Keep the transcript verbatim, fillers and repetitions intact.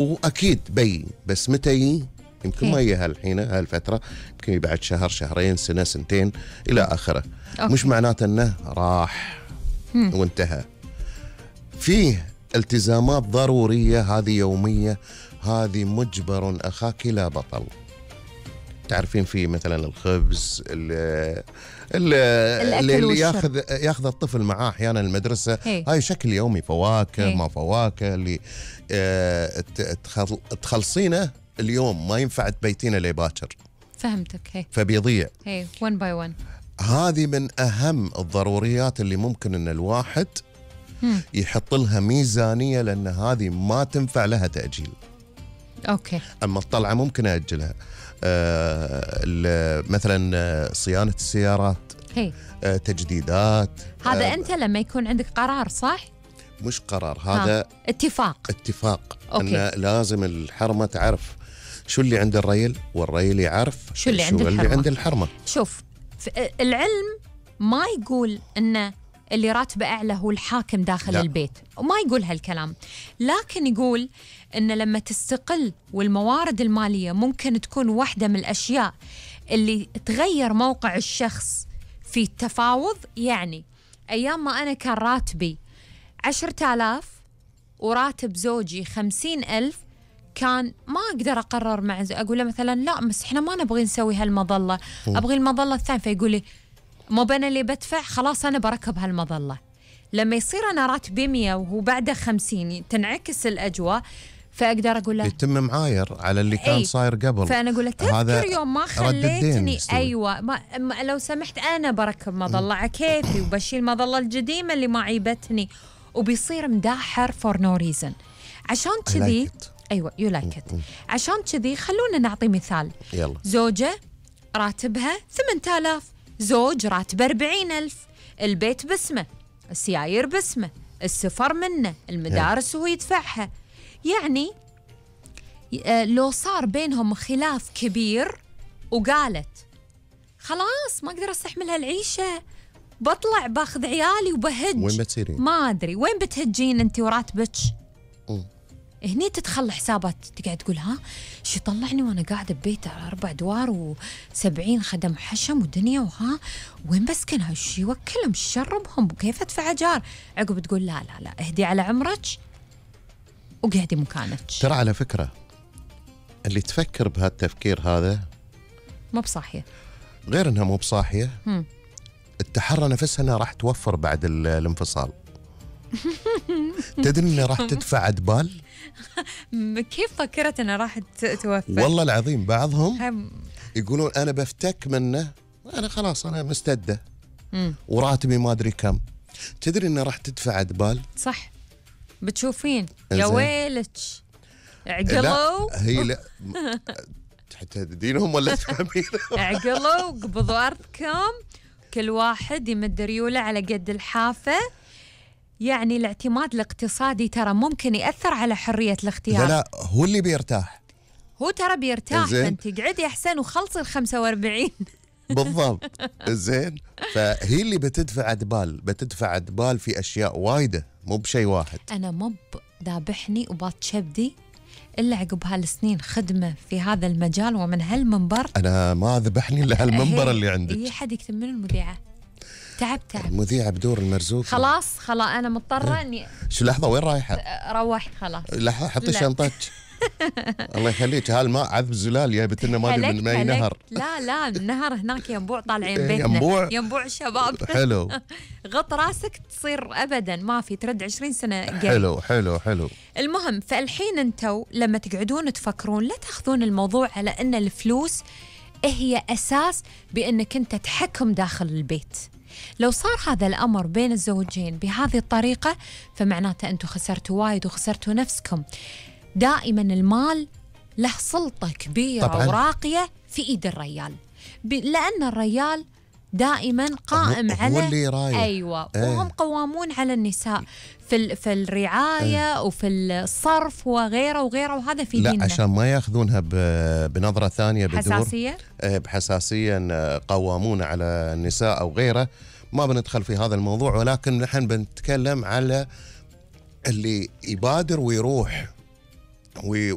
واكيد بي، بس متى يجي؟ يمكن هي. ما يجي هالحين هالفتره، يمكن بعد شهر شهرين سنه سنتين الى اخره. أوكي. مش معناته انه راح مم. وانتهى. فيه التزامات ضروريه، هذه يوميه، هذه مجبر اخاك لا بطل. تعرفين في مثلا الخبز اللي اللي, اللي, اللي ياخذ ياخذ الطفل معاه احيانا المدرسه، هي. هاي شكل يومي، فواكه هي. ما فواكه اللي آه تخلصينه اليوم، ما ينفع تبيتينه لباكر. فهمتك. هي فبيضيع. هي one by one. هذه من اهم الضروريات اللي ممكن ان الواحد مم. يحط لها ميزانيه، لان هذه ما تنفع لها تاجيل. اوكي. اما الطلعه ممكن اجلها. آه مثلا صيانه السيارات، هي. آه تجديدات. هذا آه انت لما يكون عندك قرار، صح؟ مش قرار، هذا ها. اتفاق. اتفاق. أوكي. أن لازم الحرمه تعرف شو اللي عند الريل، والريل يعرف شو اللي عند اللي الحرمة. عند الحرمه. شوف، العلم ما يقول ان اللي راتبه اعلى هو الحاكم داخل لا. البيت، وما يقول هالكلام، لكن يقول ان لما تستقل والموارد الماليه ممكن تكون واحده من الاشياء اللي تغير موقع الشخص في التفاوض. يعني ايام ما انا كان راتبي عشرة آلاف وراتب زوجي خمسين ألف، كان ما أقدر أقرر مع زوجي، أقول له مثلا لا بس إحنا ما نبغي نسوي هالمظلة، أبغي المظلة الثانية، فيقول لي مو أنا اللي بدفع، خلاص أنا بركب هالمظلة. لما يصير أنا راتبي مية وهو بعده خمسين، تنعكس الأجواء، فأقدر أقول له يتم معاير على اللي كان أي. صاير قبل. فأنا أقول له تذكر يوم ما خليتني، أيوة ما ما لو سمحت أنا بركب مظلة على كيفي وبشيل المظلة القديمة اللي ما عيبتني، وبيصير مداحر for no reason. عشان كذي like أيوة you like it. عشان كذي خلونا نعطي مثال. يلا. زوجة راتبها ثمانية آلاف، زوج راتبه أربعين ألف، البيت باسمه، السيايير باسمه، السفر منه، المدارس هو يدفعها. يعني لو صار بينهم خلاف كبير وقالت خلاص ما أقدر أستحمل هالعيشة، بطلع باخذ عيالي وبهج، وين بتسيرين؟ ما أدري وين بتهجين أنت وراتبك. م. هني تدخل حسابات، تقعد تقول ها شو طلعني وانا قاعده ببيت اربع ادوار وسبعين خدم حشم ودنيا، وها وين بسكن هالشي، وكلهم شربهم وكيف ادفع اجار. عقب تقول لا لا لا اهدي على عمرك وقعدي مكانك. ترى على فكره اللي تفكر بهالتفكير هذا مو بصاحيه، غير انها مو بصاحيه، هم. التحرى نفسها انها راح توفر بعد ال- الانفصال. تدري انها راح تدفع ادبال. كيف فكرت انها راح توفر؟ والله العظيم بعضهم هم. يقولون انا بفتك منه، انا خلاص انا مستده مم. وراتبي ما ادري كم. تدري انه راح تدفع ادبال. صح، بتشوفين يا إنزين. ويلك لا عقلوا هي لا حتى تدينهم ولا تفهمين. عقلوا قبضوا أرضكم، كل واحد يمد ريوله على قد الحافة. يعني الاعتماد الاقتصادي ترى ممكن يأثر على حرية الاختيار. لا لا هو اللي بيرتاح. هو ترى بيرتاح، زين. فانت قعدي أحسن وخلصي الخمسة واربعين. بالضبط. زين. فهي اللي بتدفع ادبال، بتدفع ادبال في اشياء وايده، مو بشيء واحد. أنا مب ذابحني وباط شبدي إلا عقب هالسنين خدمة في هذا المجال ومن هالمنبر. انا ما ذبحني الا هالمنبر اللي عندك. أي حد يكتب من المذيعة، تعب تعب. المذيعة بدور المرزوق. خلاص خلاص أنا مضطرة إني شو لحظة وين رايحة؟ روحت خلاص. لحظة حطي لا. شنطتك. الله يخليك، هالماء عذب زلال جايبت لنا ما ادري من اي نهر. لا لا النهر هناك ينبوع طالعين إيه، بيتنا. ينبوع. ينبوع الشباب. حلو. غط راسك تصير ابدا ما في، ترد عشرين سنة قريب. حلو حلو حلو. المهم فالحين انتوا لما تقعدون تفكرون لا تاخذون الموضوع على ان الفلوس هي اساس بانك انت تحكم داخل البيت. لو صار هذا الأمر بين الزوجين بهذه الطريقة فمعناته أنتوا خسرتوا وايد وخسرتوا نفسكم. دائما المال له سلطة كبيرة طبعاً. وراقية في إيد الرجال، لأن الرجال دائما قائم هو على هو اللي رايح. أيوة ايه. وهم قوامون على النساء في في الرعاية ايه. وفي الصرف وغيره وغيره، وهذا في لا ديننا. عشان ما ياخذونها بنظرة ثانية بدور حساسية بحساسية إن قوامون على النساء أو غيره. ما بندخل في هذا الموضوع، ولكن نحن بنتكلم على اللي يبادر ويروح